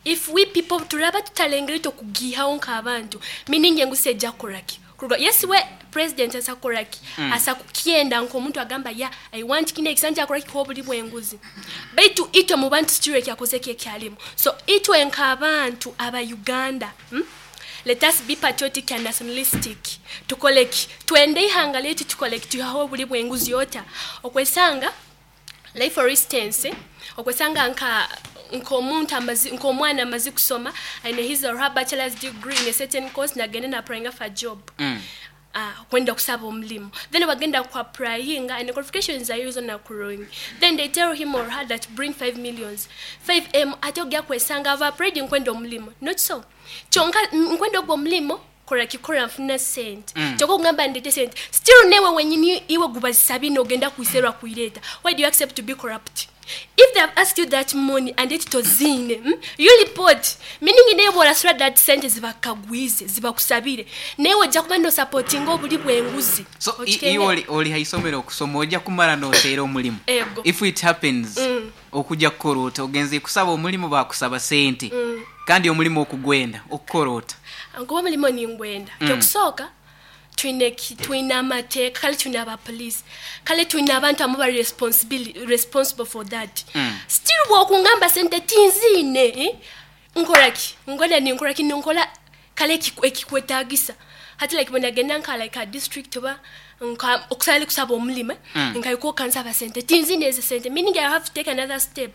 If we people turaba tutalengera ito kugihawo nk'abantu, meaning enguzi ejja kukoraki Kuruga, yes, we president asakoraki Mm. asa kukyenda nk'omuntu agamba ya I want kine ekisanja akoraki kuba obuli bw'enguzi, baitu itwe mu bantu siture kyakoze kyekyalimu. So itwe nk'abantu aba Uganda, hmm? Let us be patriotic and nationalistic. Tukoleki twende ihanga letu, tukoleki tuhaho obuli bw'enguzi yota okwesanga. Like for instance, okwesanga nka nk'omuntu amazi nk'omwana amazi kusoma, aine his or her bachelor's degree in a certain course, nagenda na applying for a job, Mm. ah, kwenda kusaba omulimu, then bagenda ku applyinga and qualifications are used na kurungi, then they tell him or her that bring five millions, five M. Ate ogya kwesanga ava applied nkwenda omulimu, not so kyonka nkwenda ogwo omulimu kola kikola nfuna sente. Mm. Kyokka okugamba ndete sente, still newe wenyini iwe gubazisabye ogenda kuiserwa kuireeta. Why do you accept to be corrupt? If they have asked you that money and it tozine, mm, you report, meaning naye bw'olasula that sente zibakagwize zibakusabire, naye ojja kuba nosupportinga obuli bw'enguzi. So i- Okikenge? iwe oli, oli haisomero okusoma ojja kumala noteera omulimu. Ego. If it happens, Mm. okujja kukola ota? Ogenze kusaba omulimu, bakusaba sente, Mm. kandi omulimu okugwenda okukola ota? Nkuba omulimu ningwenda. Mm. Kyokusooka twine ki- twine amateeka, kale twine abapoliisi, kale twine abantu amu bali responsibili- responsible for that. Mm. Still bwokungamba sente tinziine, eh? Nkolaki ngola ninkolaki ninkola kale ekiku- ekikwetagisa hati like bwenagenda nka like a district oba nka okusala kusaba omulimu, Mm. nkayikuwa kansaba sente tinziine ezo sente, meaning I have to take another step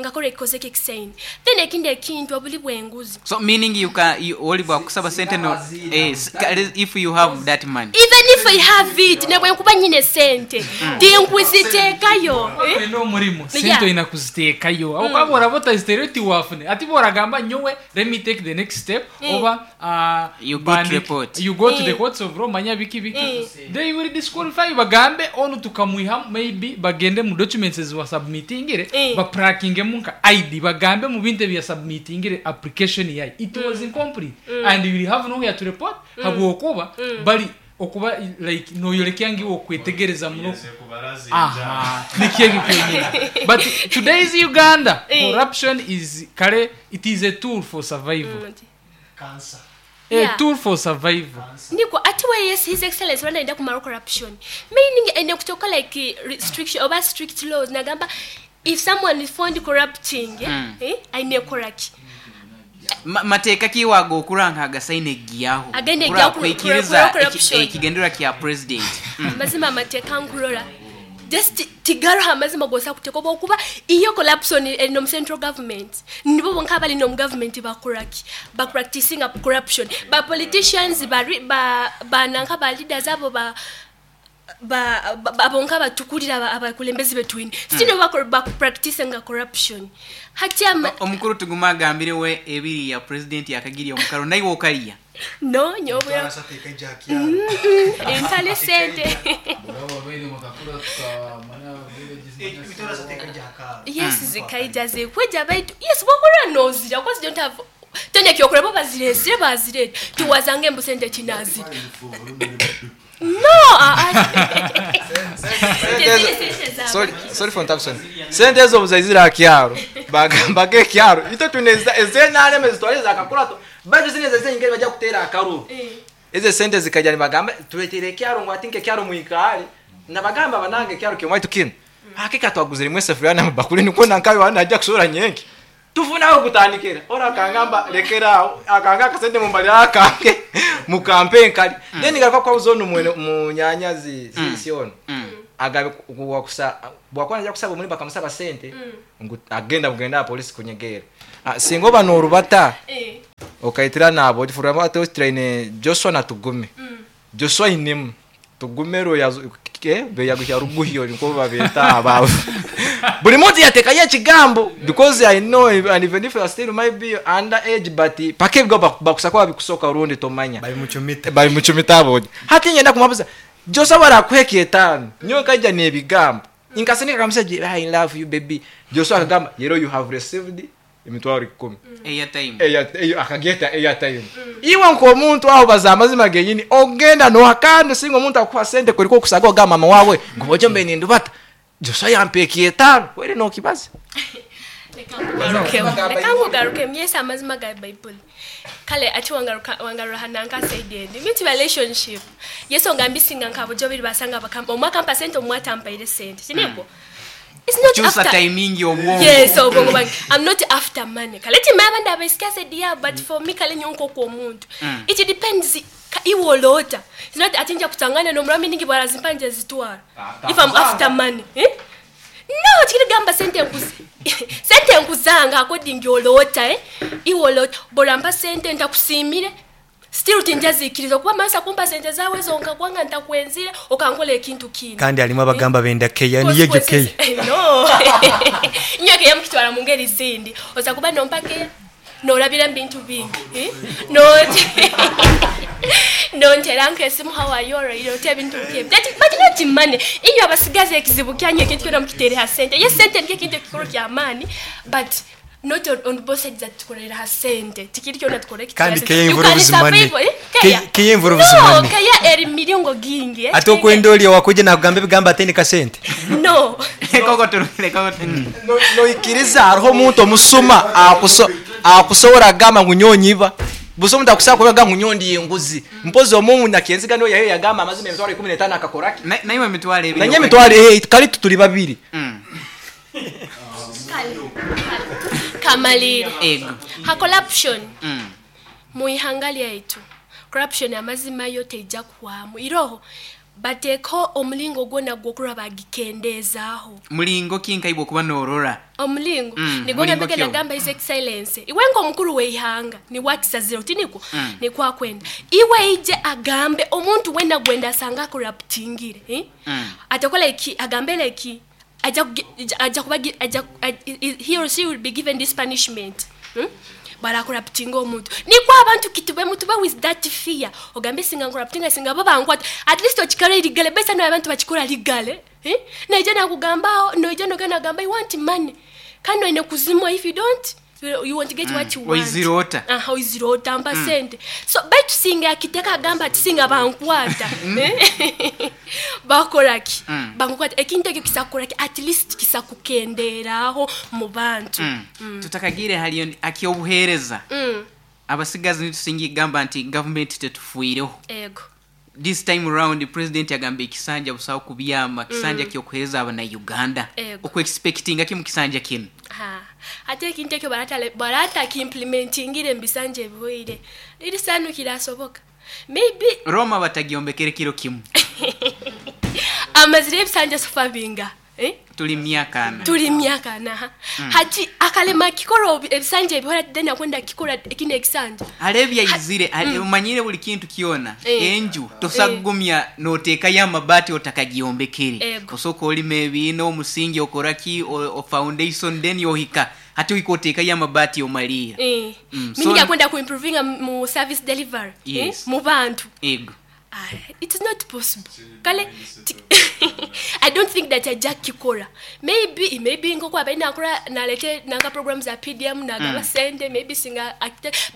ngakola ekikozeko ekisaini. Then ekindi ekintu obuli bwenguzi. So meaning you can you, oli bwakusaba sente no, eh, s- ka- if you have that money. Even if I have it, nebwenkuba nyine sente tinkwiziteekayo, eh? Olina omulimu, Yeah. sente olina kuziteekayo. Mm. Okuba bworaba otaziteere tiwafune ati bworagamba nyowe let me take the next step, Mm. oba uh, You go to bandike. report. You go to the Mm. courts of law, manya biki biki, Mm. they will disqualify you, bagambe onu tukamwiha, maybe bagende mu documents eziwasubmitingire, Mm. baprackingemu nka I D, bagambe mu bintu ebyasubmitingire application yayo it was incomplete, Mm. and you will have nowhere to report, Mm. habwokuba Mm. bali okuba like noyolekya ngiwe okwetegereza muno. Aha, nikyo ekyo kyenyini. But today's Uganda, Eh. corruption is kale it is a tool for survival, Mm. a Yeah. tool for survival. Niko ati we yes, His Excellence wanaenda kumaro corruption, meaning ene kutoka like restriction oba strict laws nagamba if someone is found corrupting, eh, Mm. eh, aine koraki. Ma- mateeka kiwaga okuranga agasaine giyaho Agende giyaho ku- kwikiriza ku- corruption. ekigendera kya president. Mm. Amazima amateeka nkurora just tigaroho amazima gosa kuteeka oba okuba iyo corruption erino mu central government, nibo bonka abalina omu government bakoraki bapracticinga corruption, ba politicians bari- ba bananka ba leaders abo ba ba ba- abo nka batukulira aba- abakulembeze betwine still mm. bapracticinga corruption hati ama Omukuru tuguma agambirewe ebiri ya president yakagiriya omukaro naye wokaliya. No nyobera entale sente. Yes, zikaija zikweja baitu yes bokora nozira because don't have tene kyokora bo baziresire bazireta tiwazange embu sente kinazira no, ah, ah. Sorry, sorry for interruption. Sente ezo buzaizira akyaro bagamba ekyaro ito tuneza ezenareme zitwale zakakurato baitu zine zeze ingeri bajja kuteera akaru ezo sente zikajja nibagamba tuletere ekyaro ngu atinka ekyaro mwikaale nabagamba banange ekyaro kyomwaitu kino hakika twaguzire imwe esefuriya namabakuli nikwo nankayo wana ajja kusobola nyenki tufunaho kutandikira ora akangamba lekeraawo akanga akasente mumbalira akange mukampe enkali then garuka kwabuza ono mwene munyanya zi Mm. zi ono agabe wakusa bwakuba najja kusaba omulimu bakamusaba sente ngu agenda bugenda apolisi kunyegera. Ah, singa oba n'orubata okaitira nabo ogifuriramu ate otiraine Joshua natugume Joshua ainemu Tugumero ya beyaguhya ruguhyo niko babeta abavu. Buli muntu yatekayo ekigambo because I know, and even if you are still might be under age, but pake bigo bakusakwa bikusoka rundi tomanya babimuchumita babimuchumita abo. Hati nyenda kumabuza Joshua barakuheka etano nyo kajja n'ebigambo inkasinika kamusaji I love you baby. Joshua akagamba yero you have received emitwaro ikumi airtime eya akageta airtime. Iwe nko aho baza amazima genyini ogenda no hakando singo omuntu akuha sente kuliko okusaga ogamba mama wawe ngo ojo mbe nindubata Joshua yampekiye etano were no kibazi. Leka nkugaruke myesa amazima ga Bible. Kale ati wangaruka wangaruha nanka said endi minti relationship yeso ngambisinga nkabujo biri basanga bakampa omwaka mpa sente omwata mpaire sente sineko. It's not Choose after timing obwongo. Yes, obwongo bange. I'm not after money. Kale ti mabanda abaisika said yeah, but for me kale nyonko kwa omuntu. Mm. It depends iwolota. It's not atinja kutangana no mrami ningi barazimpanje zitwara. If I'm after money, eh? No, chiri gamba sente nkuzi. Sente nkuzanga according yolota eh? Iwolota borampa sente ntakusimire. Still tinjazikiriza kuba masa kumpa sente zawe zonka kwanga ntakwenzire okankola ekintu kino. Kandi alimu abagamba benda keya niye keya. No. Nyo keya mukitwala mu ngeri zindi. Oza kuba nompa keya norabira mbintu bingi. Eh? No. No nteranke esimu how are you iro te bintu bye. But not money. Inyo abasigaze ekizibu kyanyu ekintu kyona mukitere ha sente. Yes sente ndiye kintu kikuru kya money but not on, on both sides that tukorera ha sente. Tikiri kyona tukore kitu. Kandi keya involves money. Keya involves money. No, keya eri miringo gingi. Eh? Ate okwenda oli wakuje na kugamba bigamba ateni ka sente. No. Koko turule koko. No no ikiriza hariho omuntu omusuma akuso akusobola gamba ngu nyonyiba. Buso mutakusaba kubaga ngunyondi yenguzi. Mpozi omuntu nakenziga no yayo yagamba amazima emitwalo ikumi n'etaano akakoraki. Naye emitwalo ebiri. Naye emitwalo eh kali tutuli babiri. Mm. Kamalire. Ego. Ha corruption. Mm. Muihanga lyaitu. Corruption amazima yote ijja kuwamu. Iroho bateko omulingo gwona gwokura bagikendezaaho. Mulingo kinka ibo kuba norora. Omulingo mm, nigona mbeke nagamba His Excellency. Iwe ngo mukuru weihanga ni wakisaziro tiniko mm. ni kwa kwenda. Iwe ije agambe omuntu wena gwenda asanga corruptingire, eh? Mm. Atakola iki agambele iki aja aja kuba aja he or she will be given this punishment. Hmm? Bara corruptinga omuntu. Nikwa abantu kitube mutube with that fear. Ogambe singa corruptinga singa baba nkwata. At least okikora ligale besa no abantu bakikora ligale. Eh? Naija nakugamba noija nogana gamba you want money. Kano ine kuzimwa if you don't you, you want to get mm. what you want. Oizirota. Ah, oizirota mpa mm. sente. So baitu singa akiteka gamba ati singa bankwata. Eh? Bakoraki. Mm. Bankwata ekintu ekyo kisakoraki at least kisakukenderaho mu bantu. Mm. Mm. Tutakagire hali akyobuhereza. Mm. Abasigazi nitusingi gamba nti government tetufuireho. Ego. This time round the president yagamba ekisanja busawo kubyama kisanja mm. kyokuhereza abana Uganda. Oku expectinga kimu kisanja kino. Ha. Ate ekintu ekyo barata barata ki implementingire mbisanje bihoire. Liri sanu kirasoboka. Maybe Roma batagiombekere kiro kimu. Amazire ebisanja sofa binga. Eh? Tuli myaka ana. Tuli myaka ana. Mm. Hati akalema kikoro ebisanja ebihora dena kwenda kikora ekine ekisanja. Alebya izire mm. Umanyire buli kintu kiona. Eh. Enju tosagumya eh. Noteka ya mabati otakagiombekere. Eh. Osoko olime ebino omusingi okoraki o, o foundation then yohika. Hati uikoteka ya mabati omalira. Eh. Mm. So, mimi kwenda ku improvinga mu service delivery. Yes. Eh? Mu bantu. Ego. Ah, it's not possible. Kale I don't think that ajja kikora. Maybe maybe ngoko abaina akora nalete nanga programs za P D M nagaba mm. sente maybe singa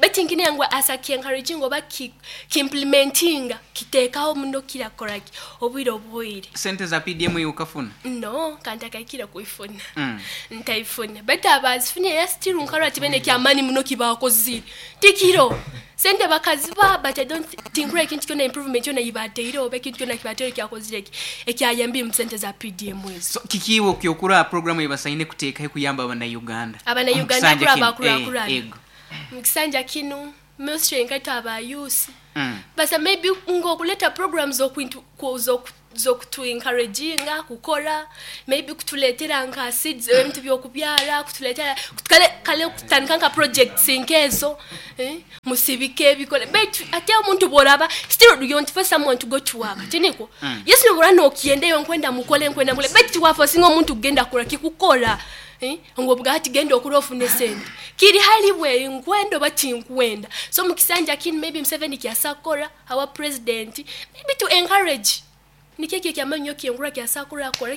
but ingine yangu asa ki encouraging oba ki, ki implementing kitekaho muno kira koraki obwire obwire. Sente za P D M ukafuna? No, kanta kaikira kuifuna. Mm. Ntaifuna. But abazifunye ya still nkaro atibene kya mani muno kibakozire. Tikiro. Sente bakaziba but I don't think ekintu kyona improvement yona ibateire oba ekintu kyona kibateire kyakozire ekyayambi mu sente za P D M ezo. So kikiwo kyokura program ebasaine kuteeka kuyamba abana Uganda. Abana Uganda kura bakura kura. Eh, Mukisanja kino ministry nkaita aba youth. Mm. Basa maybe ngo kuleta programs okwintu zokutu encouraginga kukora, maybe kutuletera nka seeds, ebintu byokubyara, kutuletera kale kale kutandika nka projects nkezo, eh, musibike ebikole. But ate omuntu bworaba still you want for someone to go to work, tiniko? Mm. Yes, nobora nokiendeyo nkwenda mukole, nkwenda mukole, but wafosinga omuntu kugenda kura kikukora. Eh, ngo bwati genda okura ofune sente kiri hali we nkwenda bati nkwenda. So mukisanja kin maybe Museveni kyasakora our president maybe to encourage nikeke kyamanyo kyengura kyasakora akora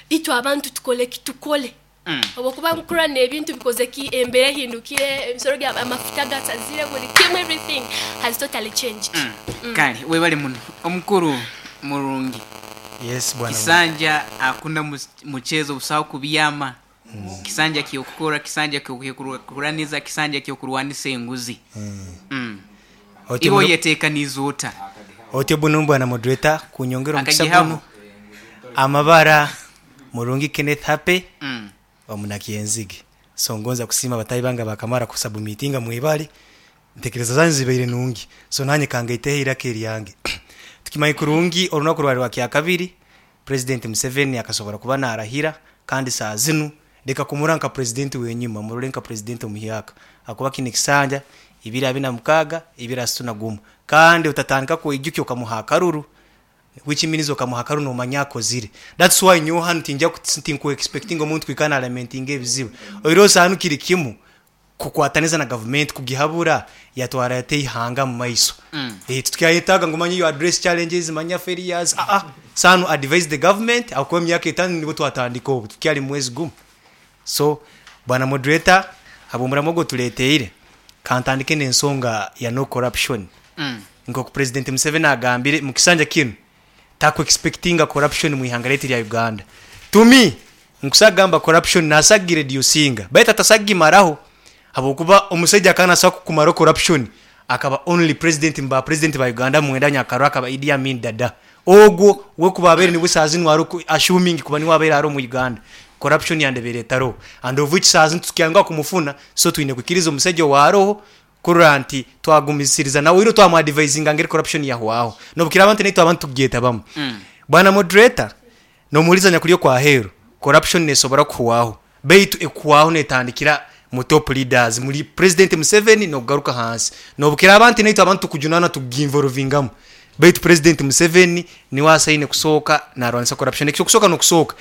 itu abantu tukole kitukole. Mm. Obokuba nkura n'ebintu bikoze ki embere hindukire emisoro gya amafuta gatazire buri kimwe, everything has totally changed. Mm. Mm. Kale webale muno omukuru murungi. Yes, bwana. Kisanja akunda muchezo busawo kubiyama. Mm. Kisanja kyokukora, kisanja kyokurwaniza, kisanja kyokurwanisa enguzi. Mm. Mm. Iwo yetekaniza ota. Otyo bunu bwana moderator kunyongera omukisa guno. Amabara Murungi Kenneth Hape. Mm. Omunakyenzige. So ngonza kusima batayi banga bakamara kusabumitinga mwibali. Ntekereza zanyu zibeire nungi. So nanye kangaiteho iraka eryange. Tukimanyi kurungi orunaku rwari rwa kyakabiri President Museveni akasobora kuba narahira kandi saa zinu leka kumura nka president wenyuma murore nka president omuhyaka akuba kine kisanja ibiri abina mukaga ibiri asuna gumu kandi utatandika kuijukyo ukamuha akaruru which means ukamuha akaruru no manyako zire. That's why nyo hanu tinja kutinku expecting omuntu kwikana lamenting ebizibu oiro sanu kiri kimu kukwataniza na government kugihabura yatwara yate ihanga mu maiso. Mm. Eh, tukyayetaga ngo manye you address challenges manya failures ah ah sanu advise the government akwa myaka itanu nibo twatandika obu tukyali mwezi gumu. So bwana moderator abumura mogo tuleteire kantandike n'ensonga ya no corruption. Mm. Nko ku President Museveni agambire mu kisanja kino taku expectinga corruption mu ihanga leti lya Uganda. To me nkusagamba corruption nasagire reducinga baita tasagimaraho abokuba omusajja kana sa kumaro corruption akaba only president mba president ba Uganda mwenda nyakaro akaba Idi Amin Dada ogwo we kubabere ni busazi nwaro assuming kuba ni wabere aro mu Uganda corruption yandebere taro and of which sazi tukyanga kumufuna. So twine kukiriza omusajja waroho kurura nti twagumisiriza nawe iro twamu advising ngeri corruption yahwaho nobukira abantu neto abantu tugeta bamu. Mm. Bwana moderator no muliza nyakulyo kwa hero corruption nesobora kuwaho beitu ekuwaho netandikira mu top leaders muri President Museveni no kugaruka hansi nobukira abantu neto abantu kujunana tuginvolvingamo beitu President Museveni ni wasaine kusoka narwanisa corruption ekyo kusoka no kusoka